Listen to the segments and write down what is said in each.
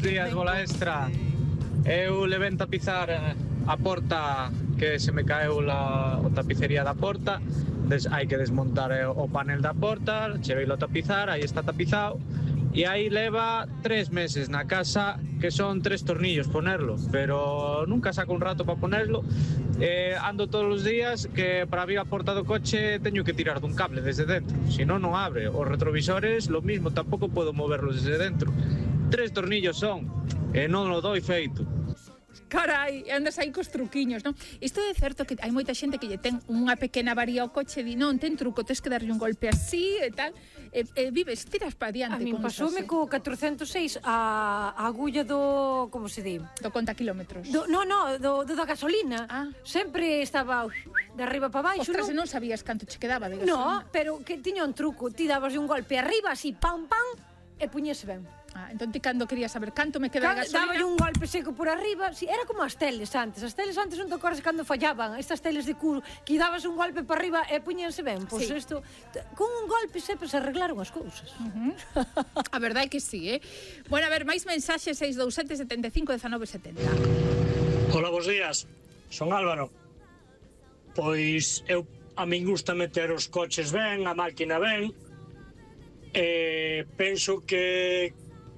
días, bola extra. Eu levei tapizar a porta que se me caeu o tapicería da porta. Hai que desmontar o panel da porta, cheveilo a tapizar, aí está tapizado. E aí leva 3 meses na casa, que son 3 tornillos ponerlo, pero nunca saco un rato para ponerlo. Ando todos os días que para abrir a porta do coche teño que tirar dun cable desde dentro, si non abre. Os retrovisores, lo mismo, tampouco podo moverlos desde dentro. 3 tornillos son, e non o doi feito. Carai, andas aí cos truquiños, non? Isto é certo que hai moita xente que lle ten unha pequena avaría ao coche e di, non, ten truco, tens que darlle un golpe así e tal, vives, tiras pa diante. A min pasoume co 406 a agulla do, como se di? Do conta kilómetros. Do da gasolina. Sempre estaba de arriba para baixo. Ostras, non sabías canto che quedaba de gasolina. No, pero que tiña un truco, ti dabas un golpe arriba, así, pam, pam, e puñese ben. Entón ti cando querías saber canto me queda de gasolina, daba un golpe seco por arriba. Sí, era como as teles antes. As teles antes non te acordas cando fallaban. Estas teles de culo que dabas un golpe para arriba e puñense ben. Pois isto, con un golpe sempre se arreglaron as cousas. A verdade é que sí, Bueno, a ver, máis mensaxes 627 75 19 70. Hola, bos días. Son Álvaro. Pois a min gusta meter os coches ben, a máquina ben. Penso que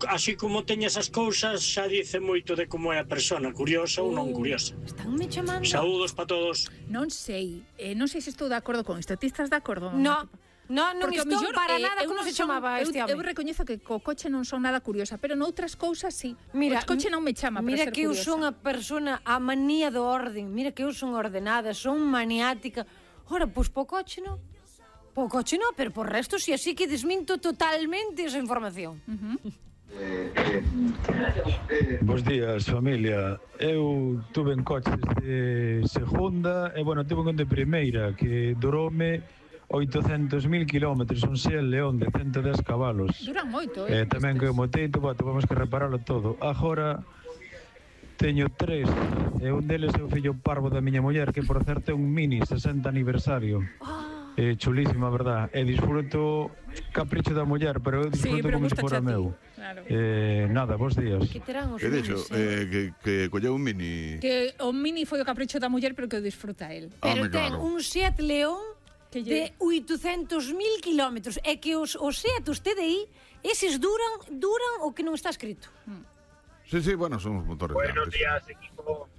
así como teña esas cousas xa dice moito de como é a persona, curiosa ou non curiosa. Estánme chamando. Saúdos para todos. Non sei se estou de acordo con isto. Ti estás de acordo? Non estou para nada. Como se chamaba este home? Eu recoñezo que co coche non son nada curiosa, pero noutras cousas sí. Mira, o coche non me chama para ser curiosa. Mira que eu son a persona a manía do orden. Mira que eu son ordenada, son maniática. Ora, pois po coche non. Po coche non, pero por resto si así que desminto totalmente esa información. Bos días, familia. Eu tuve en coches de segunda e, bueno, tuve un de primeira que duroume 800.000 kilómetros, un Seat León de 110 cabalos. Duran moito, Tamén que o moteito, tuvemos que repararlo todo. Agora teño 3, e un deles é o fillo parvo da miña muller, que por certo é un Mini 60 aniversario. Chulísima, verdad. E disfruto capricho da muller, pero eu disfruto como se fora meu. Claro. Nada, bos días. Que terán os minis, que colleu un Mini. Que o Mini foi o capricho da muller, pero que o disfruta el. Pero ten un Seat León de 800.000 kilómetros. É que os Seat, os TDI, eses duran o que non está escrito. Sí, bueno, son os motores grandes. Buenos días, equipo.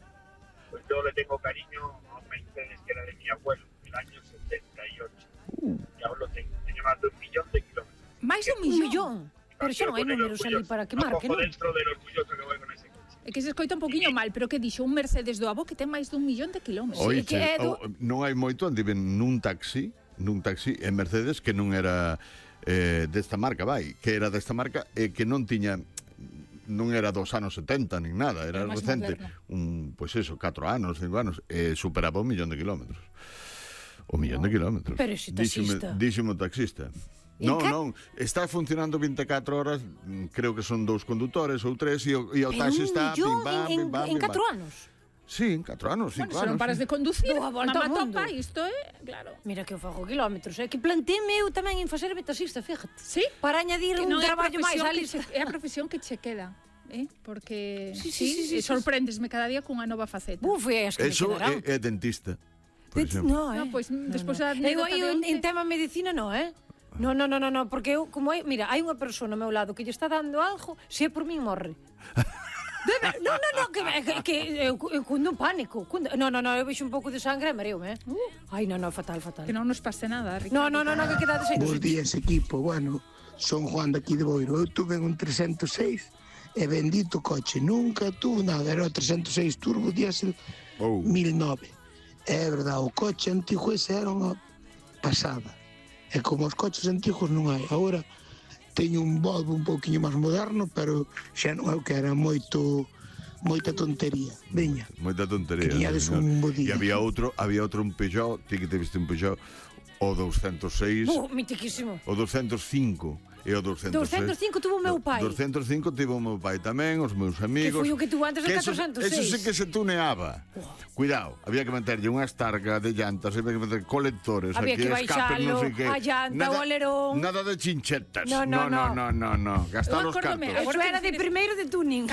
Pues yo le tengo cariño a un Mercedes que era de mi abuelo, del año 78. Y ahora lo tengo. Tiene más de 1 millón de kilómetros. ¿Más de 1 millón? Pero xa non hai números ali para que marque, non? Dentro del orgulloso que voy con ese coche. É que se escoita un poquinho mal, pero que dixo un Mercedes do avó que ten máis de 1 millón de kilómetros. Oiche, non hai moito, andiven nun taxi en Mercedes que non era desta marca, que era desta marca e que non tiña, non era dos anos 70 nin nada, era recente, pois eso, 4 anos, 5 anos, e superaba 1 millón de kilómetros. 1 millón de kilómetros. Pero ese taxista. Díximo taxista. Non, está funcionando 24 horas, creo que son 2 condutores ou 3, e o taxi está pim pam. En 4 anos? Sí, en 4 anos, 5 anos. Se non paras de conducir, a volta ao mundo. Topa, isto claro. Mira que eu fago kilómetros, que planteime eu tamén en facerme taxista, fíjate. Sí? Para añadir un traballo máis á lista. É a profesión que che queda. Porque sorprendesme cada día cunha nova faceta. É que eso é dentista. No, pois despois da anécdota de onte. En tema medicina non, No, porque eu, como mira, hai unha persona ao meu lado que lle está dando algo, se é por min morre. No, que eu cundo pánico. No, eu vexo un pouco de sangre e mareo-me, Ai, no, fatal. Que non nos pase nada, Ricardo. No, que quedades aí. Bos días, equipo. Bueno, son Juan de aquí de Boiro. Eu tuve un 306 e bendito coche. Nunca tuve nada. Era o 306 turbo diésel 1009. É verdade, o coche antigo ese era unha pasada. E como os coches antigos non hai. Agora teño un Volvo un pouquiño máis moderno, pero xa non é o que era moita tontería. Veña. Moita tontería. Tiñades un bo día. E había outro un Peugeot, ti que te viste un Peugeot, o 206. Mitiquísimo. O 205. E o 206. 205 tuvo o meu pai. 205 tivo o meu pai tamén, os meus amigos. Que foi o que tuvo antes do 406. Eso sí que se tuneaba. Cuidado, había que meterlle unha estarga de llantas, había que meter colectores, había que baixalo, a llanta, o alerón. Nada de chinchetas. No. Gastar os cartos. Eso era de primeiro de tuning.